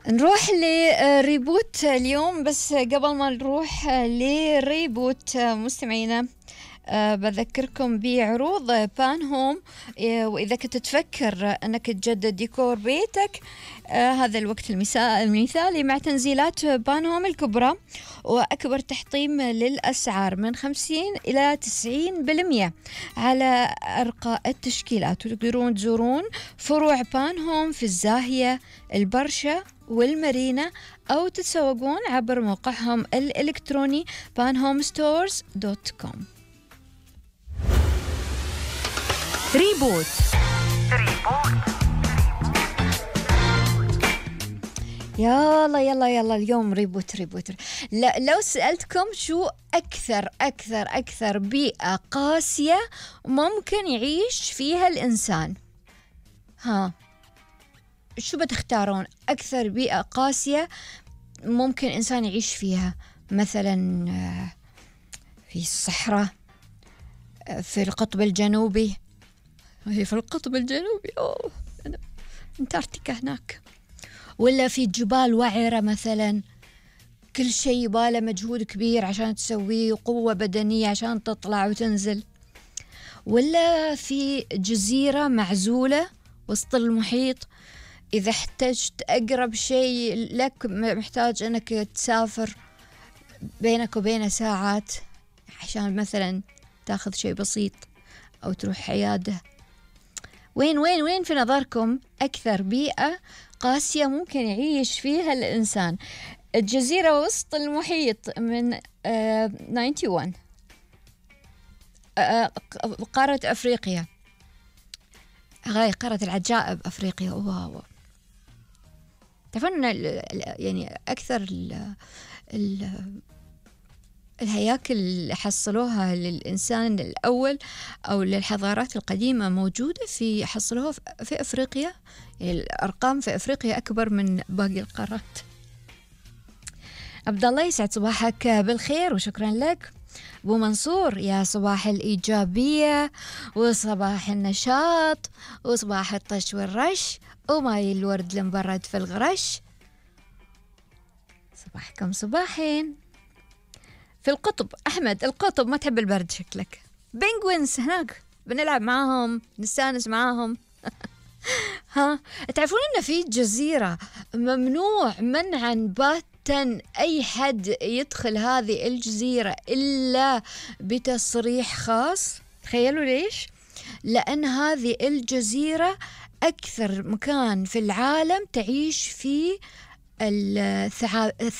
نروح لريبوت اليوم، بس قبل ما نروح لريبوت مستمعينا بذكركم بعروض بان هوم. وإذا كنت تفكر أنك تجدد ديكور بيتك، هذا الوقت المثالي مع تنزيلات بان هوم الكبرى وأكبر تحطيم للأسعار من 50 إلى 90% على أرقى التشكيلات. وتقدرون تزورون فروع بان هوم في الزاهية، البرشا والمارينا، أو تتسوقون عبر موقعهم الإلكتروني panhomestores.com. ريبوت يلا اليوم ريبوت. لو سألتكم شو أكثر بيئة قاسية ممكن يعيش فيها الإنسان، شو بتختارون؟ أكثر بيئة قاسية ممكن إنسان يعيش فيها، مثلا في الصحراء، في القطب الجنوبي. هي في القطب الجنوبي، أنتاركتيكا هناك، ولا في جبال وعرة مثلا، كل شيء يباله مجهود كبير عشان تسويه وقوة بدنية عشان تطلع وتنزل، ولا في جزيرة معزولة وسط المحيط، إذا احتجت أقرب شيء لك محتاج أنك تسافر بينك وبين ساعات عشان مثلا تاخذ شيء بسيط أو تروح عيادة. وين في نظركم أكثر بيئة قاسية ممكن يعيش فيها الإنسان؟ الجزيرة وسط المحيط من 91، قارة أفريقيا، هاي قارة العجائب أفريقيا. واو، تعرفون يعني أكثر الهياكل اللي حصلوها للإنسان الأول أو للحضارات القديمة موجودة حصلوها في أفريقيا. يعني الأرقام في أفريقيا أكبر من باقي القارات. عبد الله، يسعد صباحك بالخير وشكرا لك. أبو منصور، يا صباح الإيجابية وصباح النشاط وصباح الطش والرش وماي الورد المبرد في الغرش. صباحكم صباحين. في القطب، أحمد القطب ما تحب البرد شكلك. بينغوينز هناك بنلعب معاهم نستانس معاهم. تعرفون أن في جزيرة ممنوع منعا باتا أي حد يدخل هذه الجزيرة إلا بتصريح خاص؟ تخيلوا ليش؟ لأن هذه الجزيرة أكثر مكان في العالم تعيش فيه الثعابين.